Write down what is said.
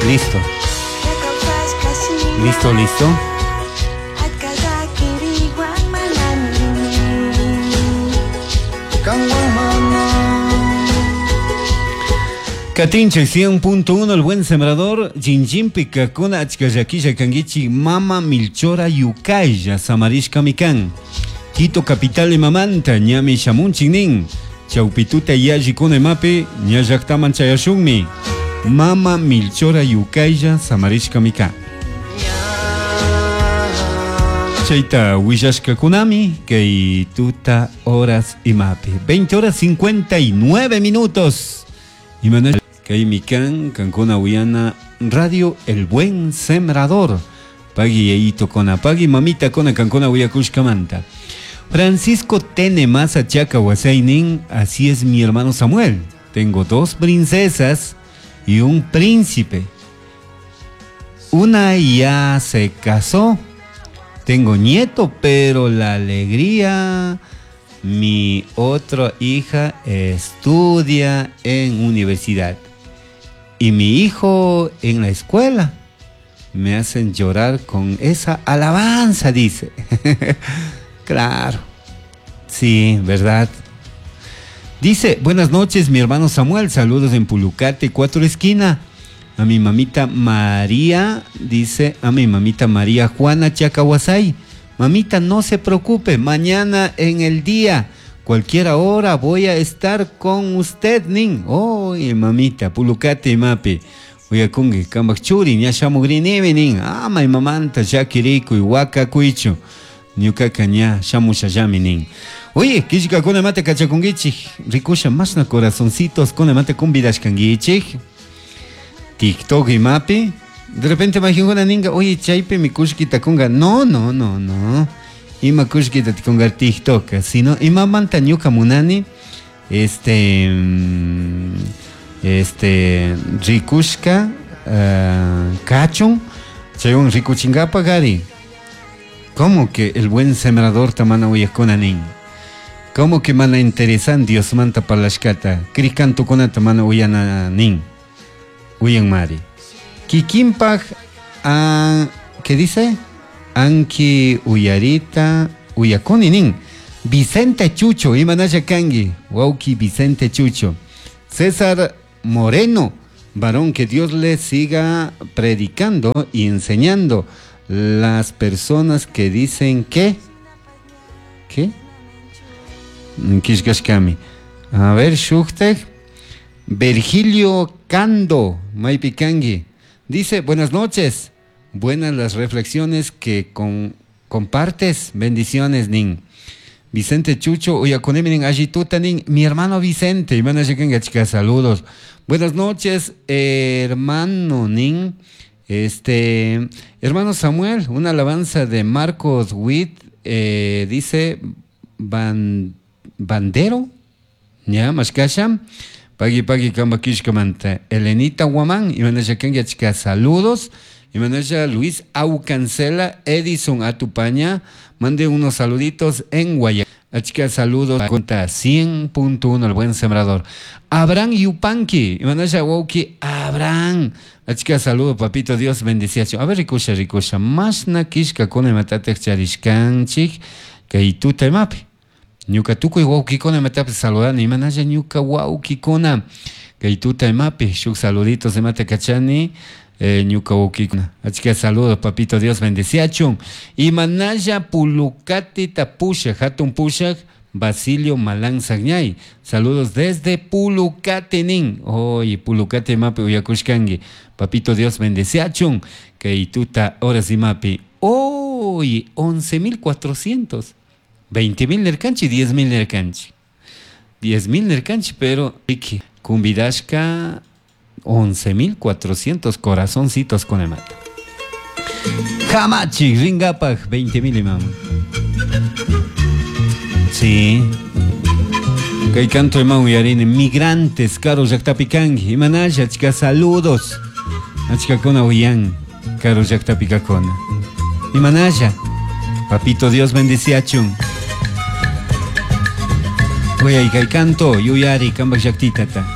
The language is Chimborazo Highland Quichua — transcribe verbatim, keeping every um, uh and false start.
Listo. Listo, listo. Katinche cien punto uno, el buen sembrador, Jinjimpi kakuna achkallakilla kangichi, mama Milchora Yukaya, Samarishka mikan. Quito capital imamanta, ñami shamunchik nin. Chaupituta yalli kuna imapi, ñallaktaman chayashunmi. Mama Milchora Yukaya, Samarishka mikan. Chaita willashka kunami, kay tuta horas imapi. veinte horas cincuenta y nueve minutos. Imana kay mikan, kankuna uyana, Radio El Buen Sembrador. Pagui yeito kona, pagui mamita kona, kankuna uyakushkamanta. Francisco Tene Maza Chaca Huasaynin, así es mi hermano Samuel. Tengo dos princesas y un príncipe. Una ya se casó. Tengo nieto, pero la alegría... Mi otra hija estudia en universidad y mi hijo en la escuela. Me hacen llorar con esa alabanza, dice. Claro, sí, ¿verdad? Dice, buenas noches, mi hermano Samuel, saludos en Pulucate, Cuatro Esquina. A mi mamita María, dice, a mi mamita María Juana Chacahuasay. Mamita, no se preocupe, mañana en el día, cualquier hora voy a estar con usted, nin. Oye, mamita, Pulucate, mapi. Oye, kungi, kambak churi, ña shamugrinimi, nin. Ah, may mamanta, shakiriku, waka kuichu. Ñukaka ña shamushallami, nin. Oye, kishka kuna mate kachakungichik, rikusha masna corazoncitos, kuna mate kumbidashkangichik. TikTok y mapi. De repente imagino ninga, oye, chaype mi kushkita kunga. No, no, no, no. Ima kushkita kunga TikTok, sino ima manta ñuka munani, este, este, rikushka, uh, kachun, chayun rikuchingapa gari. ¿Cómo que el buen sembrador tamana uyakuna nin? ¿Cómo que mana interesan Dios manta palashkata? Krikantu kunata mana uyana nin. Uyan mari. Kikimpaj, ah, ¿qué dice? Anki uyarita uyakuni nin. Vicente Chucho, imanaya kangi. Wauki Vicente Chucho. César Moreno, varón, que Dios le siga predicando y enseñando. Las personas que dicen que... ¿Qué? Kishkashkami. A ver, Shukteg. Virgilio Cando, Maipikangi. Dice, buenas noches, buenas las reflexiones que con, compartes, bendiciones, nin. Vicente Chucho, uyakuneminin allituta, nin, mi hermano Vicente, y chica, saludos. Buenas noches, hermano, nin. Este, hermano Samuel, una alabanza de Marcos Witt, eh, dice, ban, bandero, ya, mashkasha. Pagui, pagui, kamba kishkamanta. Elenita Guamán, Imanasha Kenga, chica, saludos. Imanasha Luis Aucancela, Edison Atupaña, mande unos saluditos en Guayaquil. Chica, saludos. Cuenta cien punto uno, el buen sembrador. Abraham Yupanqui, Imanasha Wauki, Abraham. Chica, saludo, papito, Dios bendice. A ver, rikusha, rikusha. Masna kishka kone matate charishkanchik, kaituta imapi. Ñuka tukuy wawkikuna imatapi saludani, imanalla ñuka wawkikuna kay tuta imapi, shuk saluditos imata kachani, eh, ñuka wawkikuna. Achka saludos, papito Dios bendeciachun. Imanalla Pulucati tapusha, hatun pushak, Basilio Malán Sagñay. Saludos desde Pulucati nin. Oye, Pulucati imapi uyakushkangi. Papito Dios bendeciachun. Kay tuta horas imapi. Oye, once mil cuatrocientos. veinte mil nerkanchi, diez mil nerkanchi. diez mil nerkanchi, pero kumbidashka once mil cuatrocientos corazoncitos con el mata. Hamachi, ringapaj, veinte mil imam. Sí. Kay canto imam uyarini, migrantes, caro llaqtapikangi, imanalla, chica, saludos. Achikakuna uyan, caro llaqtapikakuna. Imanalla, papito Dios bendeciachun. Oye, kay canto, yuyari, kambak llaqtitata.